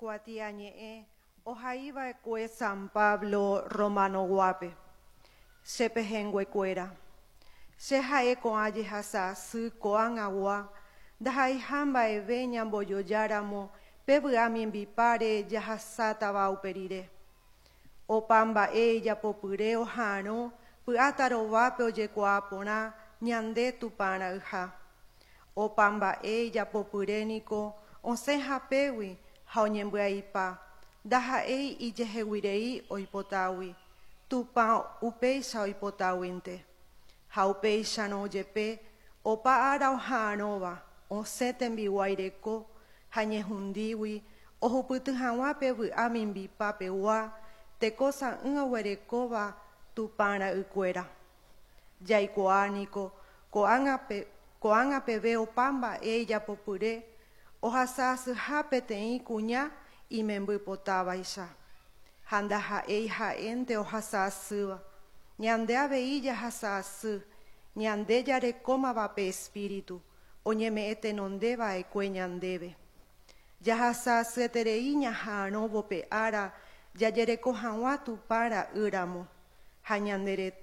Kuatiañe'ẽ ohaiva'ekue San Pablo Romano-guápe. Che pehẽnguekuéra. Che ha'e ko'ã jehasa asy ko'ág̃agua ndaha'eiha mba'eve ñambojojáramo pe vy'a mimbipáre jahasátava upe rire. Opa mba'e ijapopyre oha'arõ py'a tarovápe ojekuaa porã ñande Tupã ra'yha. Opa mba'e ijapopyre niko osẽ hapégui ha oñembyaipa, ndaha'éi ijeheguirei oipotágui, Tupã upéicha oipotáguinte. Ha upéicharõ jepe opa ára oha'arõva osẽ tembiguái reko ha ñehundígui ohupyty hag̃ua pe vy'a mimbipa pegua teko sã'ỹ oguerekóva Tupã ra'ykuéra. Jaikuaa niko ko'ág̃a peve opa mba'e ijapopyre ohasa asyha peteĩ kuña imembypotávaicha. Ha ndaha'éi ha'énte ohasa asýva, ñande avei jahasa asy, ñande jarekómava pe Espíritu oñeme'ẽ tenonde va'ekue ñandéve. Jahasa asyeterei ñaha'arõvo pe ára jajereko hag̃ua Tupã ra'ýramo ha ñande rete.